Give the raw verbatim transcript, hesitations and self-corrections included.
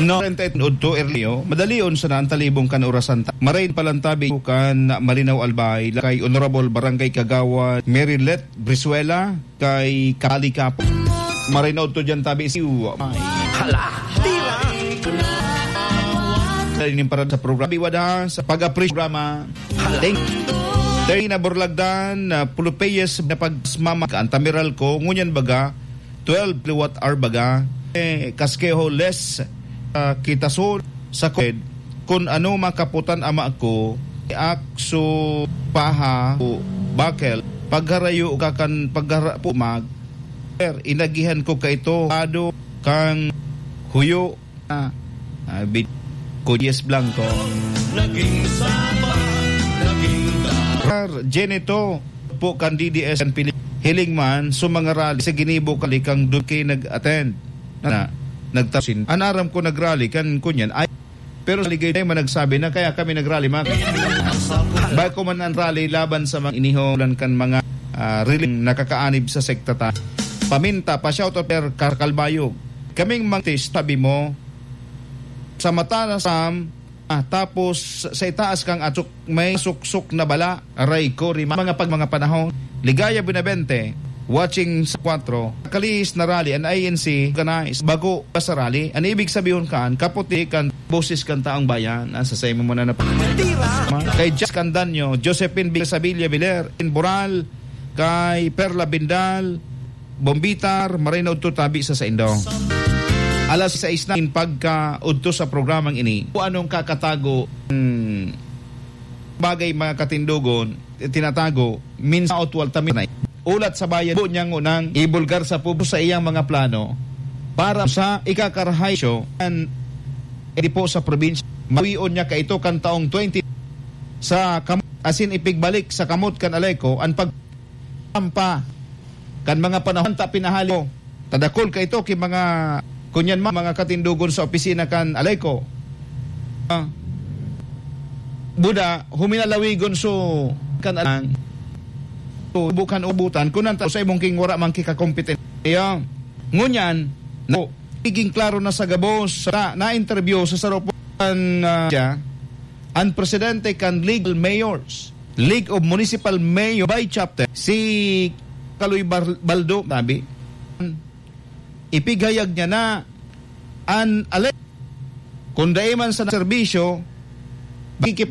No, treinta y uno Erlio, madalion sana ang talibong kan orasan ta. Maray palantabi kan Malinaw Albay, kay Honorable Barangay Kagawad Merilet Brizuela, kay Kali Kapo. Maray na udto dyan tabi si Uwa. Hala, tira! Dahil yung parada sa programa, biwada sa pag-appreciate programa. Hala. Thank you. Dahil na Burlagdan, uh, Pulupeyes na pagmamag ang tamiral ko, ngunyan baga, twelve kilowatt hour baga, eh, kaskeho less, ah, kita so sa kod, kun ano makaputan ama ko, akso paha, o bakel, pagharayo ka kan paghara pumag, inagihan ko kaito, ado kang huyo, ah, ah, bit-, Kudyes Blanco. Naging saba, naging da- Jenito, po kan D D S ang pili-, hiling man, so mga rally sa ginibo kalikang doon kayo nag-attend. Na, nagtasin. An aram ko nagrally kan kunyan. Ay, pero sa ligay tayo man nagsabi na kaya kami nagrally, mga. Bako man ang rally laban sa mga iniholan kan mga, ah, riling nakakaanib sa sekta ta. Paminta, pa-shoutout per Kar-, Kalbayog. Kaming mga artist, sabi mo, sa mata na Sam, ah, tapos sa itaas kang atsok may suksok na bala, aray ko, rima-, mga pag mga panahon. Ligaya Benavente, watching sa kwatro. Kalihis na rally, an I N C organized, bago pa sa rally. An ibig sabihon kan, kaputi kan boses kan taong bayan. Ah, sa saimo mo na nap-, Tira! Kay Jess Candanyo, Josephine Big Sabilla Viler, in Boral, kay Perla Bindal, Bombitar, maray na udto tabi sa saindo. Alas sais na in pagka udto sa programang ini. Kung anong kakatago, hmm, bagay mga katindogon, tinatago, minsan otwal taminay. Ulat sa bayan, po niyang unang ibulgar sa publiko sa iyang mga plano para sa ikakarahay siyo an, di po sa probinsya. Mawion niya kaito kan taong twenty sa kam-, asin ipigbalik sa kamot kan Aleco an pag-, ampa kan mga panahon ta pinahali ko. Tadakol kaito ki mga, kunyan ma-, mga katindogon sa opisina kan Aleco. Ah, buda, huminalawigon so kan alang. So, bukan ubutan, kunan ta sa imong king wara man kikakompetensya. Ngunyan, no, iging klaro na sa gabos, sa na-interview sa sarupo kan, ah, siya, ang presidente kan League of Mayors, League of Municipal Mayor by Chapter, si Kaloy Bar-, Baldo, sabi, ipighayag niya na an ale-, kung dai man sa serbisyo, makikip-,